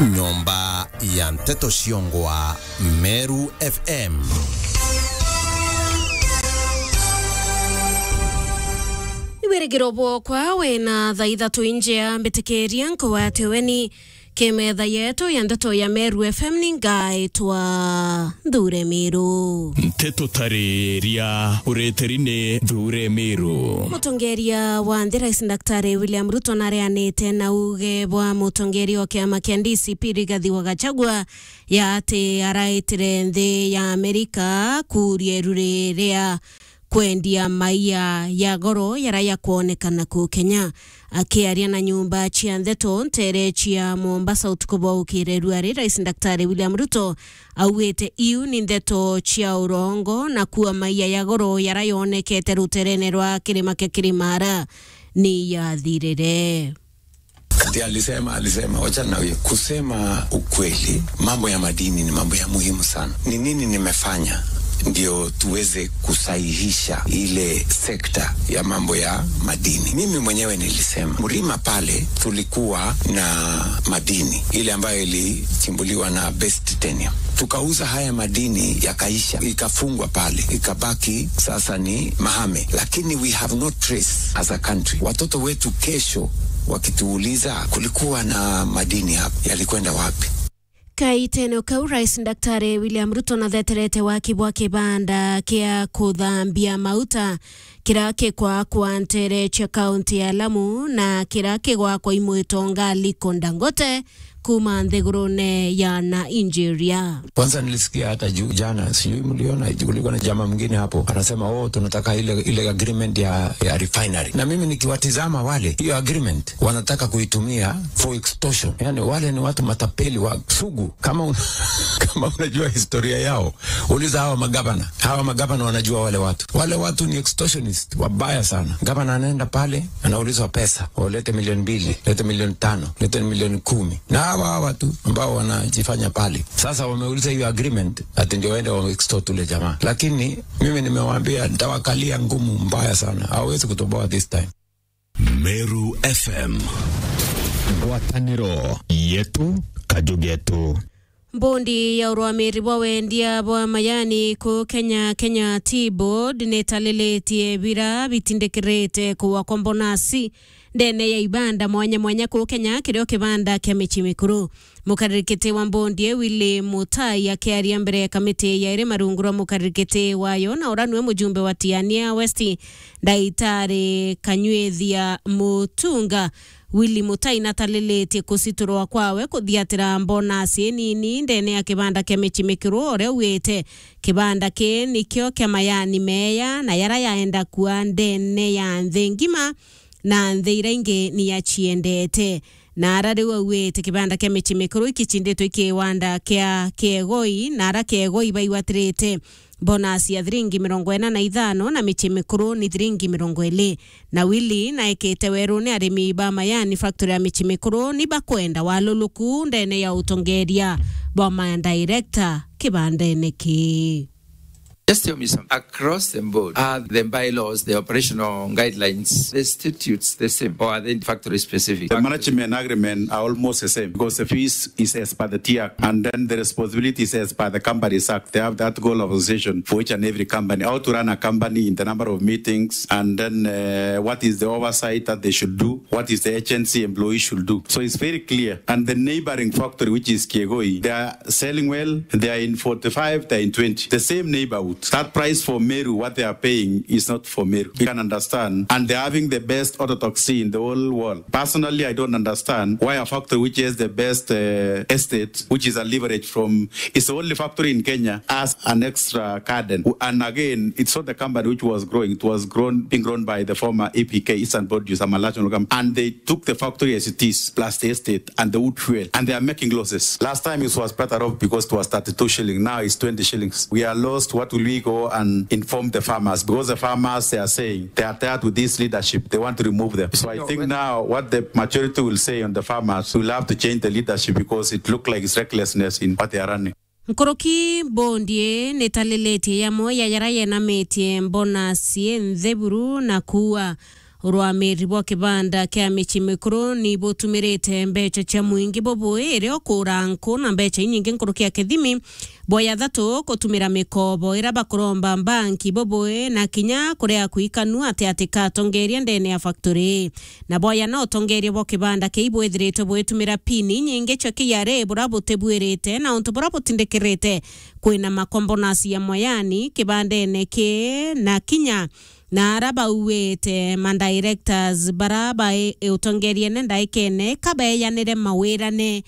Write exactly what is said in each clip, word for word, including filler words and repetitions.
Nyomba ya nteto ciongwa Meru F M. Ni wirigiro bwokwa wina thaa ithatu injea mbitikiria nkugwate weni ki metha yetu ya nteto ya Meru F M ni ngaitwa Nthure Miru. Nteto tariria uritiri ni Nthure Miru. Mutongeria wa nthi Rais Daktari William Ruto nareanite na uge bwa mutongeria o kiama kia D C P Rigathi wa Gachagua ya ati araitire nthi ya Amerika kuuria iruri ria kwendia maia ya goro yara yakwonekana ku Kenya. Akiaria na nyumba cia ndeto ntere cia Mombasa utuku bwa ukire ruari, Rais Daktari William Ruto augite iu ni ndeto cia urongo na kuwa maia ya goro yara yonekete ruterene rwa kirima kia Kirimara ni yathirire. Ati alisema, alisema, wacha na huyo. Kusema ukweli, mambo ya madini ni mambo ya muhimu sana. Ni nini nimefanya ndio tuweze kusahihisha ile sekta ya mambo ya madini? Mimi mwenyewe nilisema, Mrima pale tulikuwa na madini, ile ambayo ilichimbuliwa na Best Titanium. Tukauza haya madini yakaisha, ikafungwa pale, ikabaki sasa ni mahame. Lakini we have no trace as a country. Watoto wetu kesho wakituuliza, "Kulikuwa na madini hapa, yalikwenda wapi?" Kaitene kau, Rais Daktari William Ruto natheterete waki bwa kibanda kia kuthambia mauta kira kikwakwa ntere cia kaunti ya Lamu na kira kigwakwa i mwitonga Aliko Dangote kuma nthigurune ya Nigeria. Kwanza nilisikia hata juu jana, sijui mliona, kulikuwa na jamaa mwingine hapo anasema, "Oh, tunataka ile, ile agreement ya, ya refinery." Na mimi nikiwatizama wale, hiyo agreement wanataka kuitumia for extortion. Yani wale ni watu matapeli wa sugu. Kama un-, kama unajua historia yao, uliza hawa magavana. Hawa magavana wanajua wale watu. Wale watu ni extortionist wabaya sana. Gavana anaenda pale, anaulizwa pesa, "Oh, lete milioni mbili, lete milioni tano, lete milioni kumi." Na hawa, hawa tu ambao wanajifanya pale. Sasa wameuliza hiyo agreement, ati ndio waende wa extort ule jamaa. Lakini mimi nimewaambia, nitawakalia ngumu mbaya sana. Hawawezi kutoboa this time. Meru F M. Ngwataniro yetu, kaju getu. Mbondi ya urwamiri bwa wendia bwa majani ku Kenya, Kenya Tea Board, nitalilitie bira bitindikirite kuwa kwa mbonasi ndene ya ibanda mwanya mwanya ku Kenya, kirio kibanda kia mici mikuru. Mukaririkiti wa mbondi iu, Willy Mutai, akiaria mbere ya kamiti ya irima rungu rwa mukaririkiti wayo, na ura niwe mujumbe wa Tiania West, Ndaitari Kanyuithia Mutunga, Willy Mutai natalilitie kusiturwa kwawe kuthiatira mbonasi inini ndene ya kibanda kia mici mikuru, uria ugite kibanda kii nikio kia mayani meya na yara yaenda kua ndene ya nthi ngima na nthi iria ingi ni aciendete. Na ara riu auite kibanda kia mici mikuru ikicinditwe ikiwanda kia Kiegoi, na ara Kiegoi baigwatirite bonus ya thiringi mirongo ina na ithano na mici mikuru ni thiringi mirongo iri. Na Willy naekite weruni arimi ba Mayani factory ya mici mikuru ni bakwenda waluluku ndene ya utongeria bwa ma director kibandene kii. Just tell me something. Across the board, are the bylaws, the operational guidelines, the statutes the same, or are they factory specific? The management agreement are almost the same because the fees is as per the T Act, and then the responsibility is as per the Companies Act. They have that goal of association for each and every company, how to run a company in the number of meetings, and then, uh, what is the oversight that they should do, what is the agency employee should do. So it's very clear. And the neighboring factory, which is Kiegoi, they are selling well, they are in forty-five, they are in twenty. The same neighborhood. That price for Meru, what they are paying is not for Meru. You can understand. And they're having the best autotoxin in the whole world. Personally, I don't understand why a factory which has the best, uh, estate, which is a leverage from, it's the only factory in Kenya, has an extra garden. And again, it's not the company which was growing. It was grown, being grown by the former E P K, Eastern Produce, a multinational company. And they took the factory as it is, plus the estate and the wood fuel, and they are making losses. Last time it was better off because it was thirty-two shilling. Now it's twenty shillings. We are lost. What will we go and inform the farmers? Because the farmers, they are saying they are tired with this leadership. They want to remove them. So I think now what the majority will say on the farmers, we'll have to change the leadership because it look like it's recklessness in what they are running. Nkuruki, mbondi ii nitalilitie yamwe ya yara yenamitie mbonasi inthi buru na kuua Urwamiri bwa kibanda kia mici mikuru ni butumirite mbeca cia mwingi bubui, iria ukuura nku na mbeca inyingi nkuruki ya kithimi. Bwa ya thatu, kutumira mikobo ira bakuromba mbanki bubui, na kinya kuria kuikanu ati ati katongeria ndene ya factory. Na bwa ya na utongeria bwa kibanda kii bwithiritwe bwitumira pini inyingi cia K R A bura butibwirite na untu bura butindikirite kwina makombonasi ya mwayani kibandene kii na kinya na ara bauite ma directors bara bai utongeriene ndaikene kabeyanire mawirane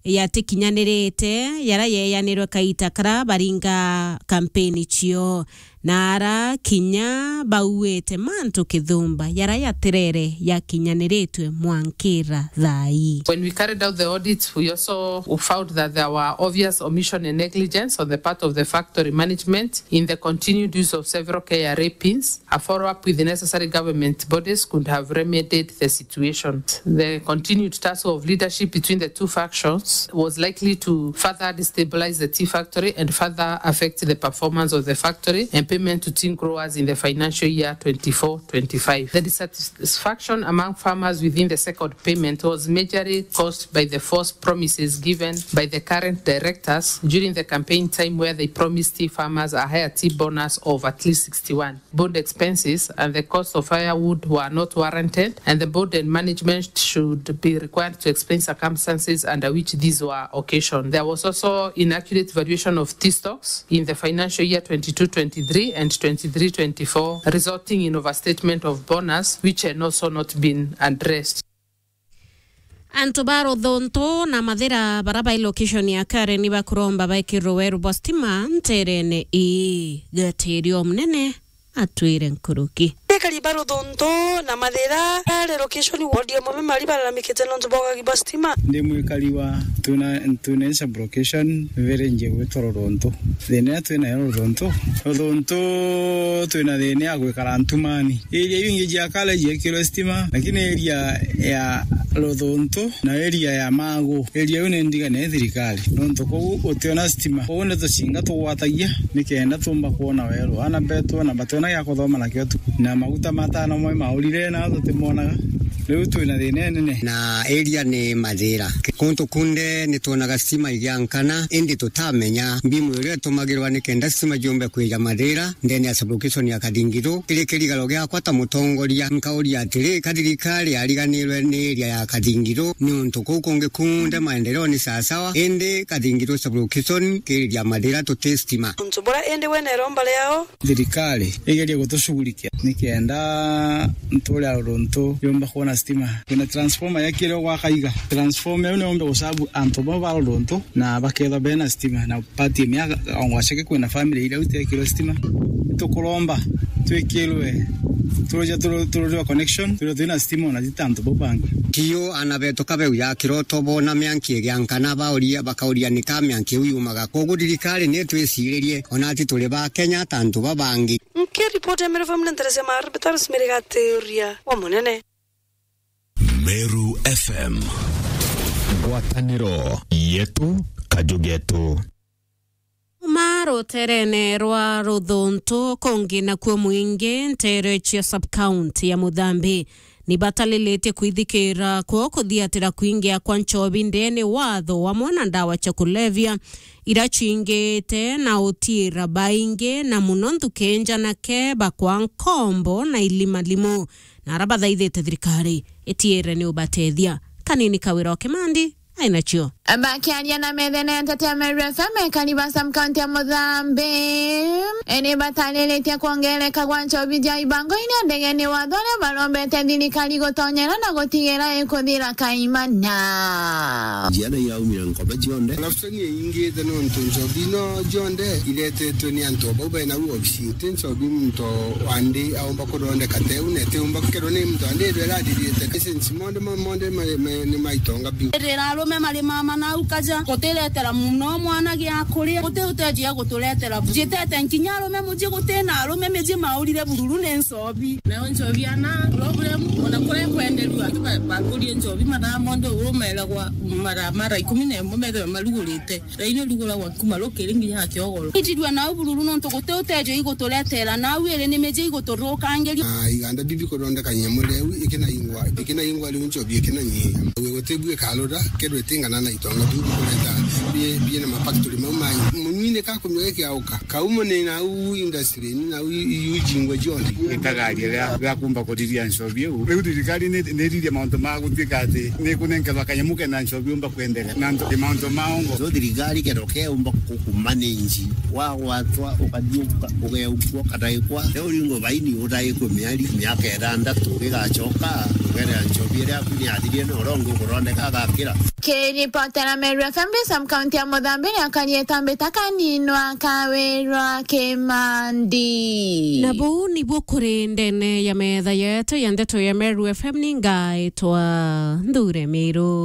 yatikinyanirite yara yeyanirwe kaita kara baringa kampeni cio, na ara kinya bauite mantu kithumba yara yatirere yakinyaniritwe mwankira thaa ii. When we carried out the audit, we also found that there were obvious omission and negligence on the part of the factory management in the continued use of several K R A pins. A follow-up with the necessary government bodies could have remedied the situation. The continued tussle of leadership between the two factions was likely to further destabilize the tea factory and further affect the performance of the factory and payment to tea growers in the financial year twenty-four twenty-five. The dissatisfaction among farmers within the second payment was majorly caused by the false promises given by the current directors during the campaign time, where they promised tea farmers a higher tea bonus of at least sixty-one. Board expenses and the cost of firewood were not warranted, and the board and management should be required to explain circumstances under which these were occasioned. There was also inaccurate valuation of tea stocks in the financial year twenty-two twenty-three and twenty-three twenty-four, resulting in overstatement of bonus, which had also not been addressed. Antu ba Ruthuntu na Mathira bara bai location ya Karen bakuromba baikirwe weru bwa stima nterene ii. Gatiri o munene atwire nkuruki. Ekari ba Ruthuntu na Mathira ari location ward ya Mome Mari balalamikite nontu bwa ugagi bwa stima. Ndi mwikari wa twina, twina sub location village gwitwa Ruthuntu. Thina iria twinayo Ruthuntu, Ruthuntu twina thina ya gwikara ntumani. Area iu ingi cia Kale ciekirwe stima, lakini area ya Ruthuntu na area ya Magu, area iu ni ndigane thirikari, nontu kuu gutiona stima. Kuu ni tucinga tugwatagia nikenda tumba kwona weru. Ana betu ona bationa gia kuthoma nakio tu, na maguta matano mwe maurire na tutimonaga. Riu twina thina inene. Na area ni Mathira. Kuntu kunde nitwonaga stima igiankana, indi tutamenya mbimu iria itumagirwa nikenda stima ciumbe kwija Mathira. Ndene ya sub-location ya Kathingithu, kiri kirigaro giakwa ta mutongoria, nkauria atiri, ka thirikari yariganirwe ni area ya Kathingithu, niuntu kuu kungi kunthe maendeleo ni sawasawa, indi Kathingithu sub-location kiri area ya Mathira tuti stima. Untu bura indi we neromba riao? Thirikari igerie gutushughulikia nikenda nturia Ruthuntu yumba kwona stima. Kwina transformer yakire gwaka iga. Transformer iu niumbe gusabu antu bau ba Ruthuntu na bakethwa bena stima na Pati miaka ongwaceke kwina family iria utekirwe stima. Tukuromba twikirwe turuja turu-, turuja connection, turuja twina stima ona ti ta antu bau bangi. Tio ana betu kabeu ya kiroto bona mianki igiankana bauria, bakauria ni ka mianki iu yumaga. Koguo thirikari ni twiciririe, ona ati turi ba Kenya ta antu babangi. Nkiripoti ya Meru F M ni Teresia Maru, Betarus Mirigatiuria wa Munene. Meru F M. Ngwataniro yetu, kaju getu. Kuma ruterene rwa Ruthuntu kungi nakuo mwingi ntere cia sub-county ya Muthambi ni batalilite kwithikira kwoo kuthiatira kwingia kwa nchobi ndene watho wamwe na ndawa cia kulevya ira cingite na utiira baingi na muno nthuki njanake bakwa nkombo na ilimalimu. Na ara bathaithite thirikari itiire ni ubatethia. Kanini Kawira o Kimandi ainacio. Bakiaria na methene ya nteto ya Meru F M, ekari ba sub-county ya Muthambi ni batariritie kwongereka gwa nchobi cia ibango iria ndegene watho aria barombete thirikari gutonyera na gutigira ikuthira kaimana. Njiana iraumira nkobe cionthe. Corruption iingite nontu nchobi no cionthe iretetwe ni antu bau bena u obisi. Ti nchobi muntu wa ndi aumba kuthondeka teu, na itiumba kerwo ni muntu wa ndi ithwe irathithite. License monde, mo-, monde ma-, ma-, ni maitonga biu. Riraro Me mari mama nau kaja, gutiretera muno mwana gia kuria, guti utejo ya guturetera. Jitete nkinya arume muji guti na arume miji maurire bururu ni nchobi. Nayo nchobi ana problem, ona kuria kwenderua, ba-, bakurie nchobi mathaa monthe urumeragwa mara, mara ikumi na imwe methirwe marugurite. Raini uruguragwa kuma rukiri nginya kiogoro. Itirua nau bururu nontu guti utejo iguturetera, nau iri ni miji iguturukangiria. Na iganda bibi kuthondeka nyemu riu ikinaingwa, ikinaingwa riu nchobi ikinanyihia. Gwe guti bu ikarura, kethirwa itingana na itonga biu bikureta bi-, biina mafactory mau manyu. Munywini kakumya gikiauka. Kaumo ni nau industry, ni nau i-, i-, ijingwa jonthe. Itagaria ria, ria kumba kuriria nchobi iu. Riu thirikari ni, ni iririe mauntu ma gutuika ati ni kunenkerwa kanyamu kena nchobi umba kwenderea. Na nto-, mauntu ma ongo. So thirikari kero keumba kukumanage, wagwatwa, ukathiuka, ugeukua, ukataikwa. Riu ringo baini utaiku mieri, miaka ithanthatu, gigacoka, ugerea nchobi iria yaku ni yathirie na urongo kuthondeka agakira. Kiripotera Meru F M, Sam kaunti ya Muthambi, ni akarieta mbita kaninwa Kawirwa Kimandi. Na buu nibuo kuri ndene ya metha yetu ya ndeto ya Meru F M, ni ngaitwa Nthure Miru.